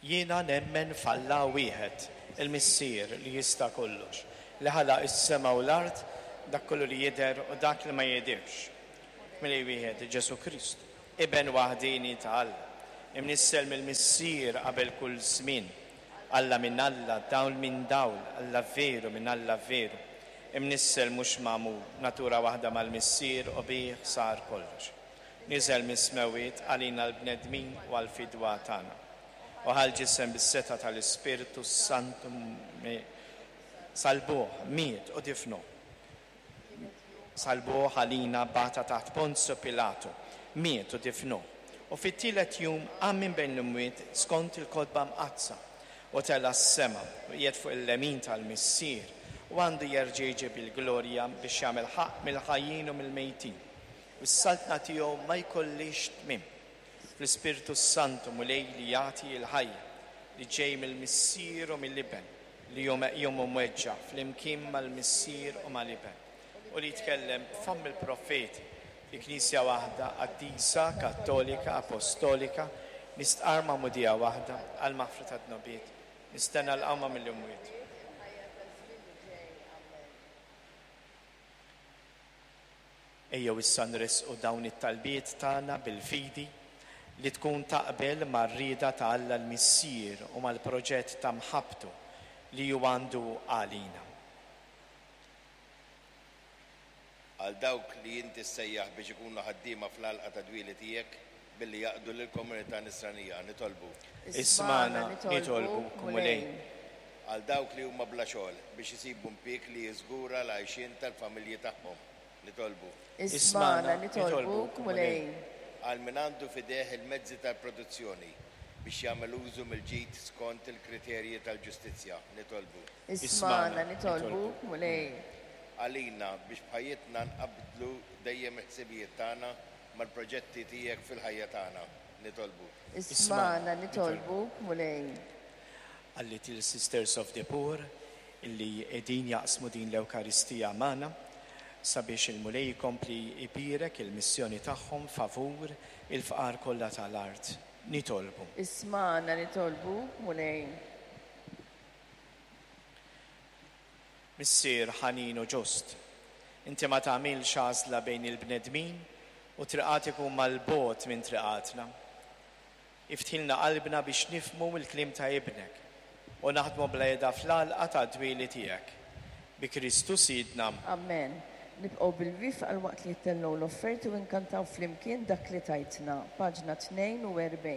Jiena nemmen f'Alla wieħed, il-Missier li jista' kollox, li ħalaq is-sema u l-art, dak kollu li jidher u dak li ma jidhirx. F'Milej wieħed, Ġesù Kristu, Iben waħdieni ta' Alla, imnissel mill-Missier qabel kull żmien, Alla minn Alla, dawl minn dawl, Alla veru minn Alla veru, imnissel mhux magħmul, natura waħda mal-Missier u bih sar kollox. Niżel mis-smewwiet għalina l-bnedmin u għall-fidwa tagħna. U ħa l-ġisem bis-setgħa tal-Ispirtu s-Santu Salbuh, miet u difnuh. Salbuh għalina bata taħt Ponzju Pilatu, miet u difnuh. U fit-tielet jum qam minn bejn l-imwiet skont il-Kotba Mqaddsa, u tela' s-sema, u qiegħed fuq il-lemin tal-Missier, u għandu jerġa' jiġi bil-glorja biex jagħmel ħaqq mill-ħajjin u mill-mejtin. U s-saltna tiegħu ma jkollhiex tmiem. Fl-Ispirtu s-Santu, Mulej li jagħti l-ħajja, li ġej mill-Missier u mill-Iben, li hu meqjum u mweġġa' flimkien mal-Missier u mal-Iben, u li jitkellem b'fomm il-profeti, fi Knisja waħda, qaddisa, kattolika, apostolika, nistqarr magħmudija waħda għall-maħfra tad-dnubiet, nistenna l-qawma mill-imwiet. Ejjew issa nressqu dawn it-talbiet tagħna bil-fidi li tkun taqbel mar-rieda ta' Alla l-Missier u mal-proġett ta' mħabbtu li hu għandu għalina. Għal dawk li inti ssejjaħ biex ikunu ħaddiema fl-għalqa tad-dwieli tiegħek billi jaqdu lill-komunità Nisranija, nitolbu. Ismagħna, nitolbuk, Mulej. Għal dawk li huma bla xogħol biex isibu mpieg li jiżgura l-għajxien tal-familji tagħhom, nitolbu. Ismagħna, nitolbuk, Mulej. Għal min għandu f'idejh il-mezzi tal-produzzjoni biex jagħmel użu mill-ġid skont il-kriterji tal-ġustizzja, nitolbu. Ismagħna, nitolbuk, Mulej. Għalina biex b'ħajjitna nqabblu dejjem il-ħsibijiet tagħna mal-proġetti tiegħek fil-ħajja tagħna, nitolbu. Ismagħna, nitolbuk, Mulej. Għal-Little Sisters of the Poor illi qegħdin jaqsmu din l-Ewkaristija magħna sabiex il-Mulej ikompli jbierek il-missjoni tagħhom favur il-fqar kollha tal-art. Nitolbu. Ismagħna, nitolbuk, Mulej. Missier ħanin u ġust, inti ma tagħmilx għażla bejn il-bnedmin u triqatek huma 'l bogħod minn triqatna. Iftħilna qalbna biex nifhmu l-kliem ta' Ibnek u naħdmu bla heda fl-għalqa tad-dwieli tiegħek. Bi Kristu Sidna. Amen. Nibqgħu bil-wieqfa għal waqt li jittellgħu l-offerti u nkantaw flimkien Dak li Tajtna, paġna 42.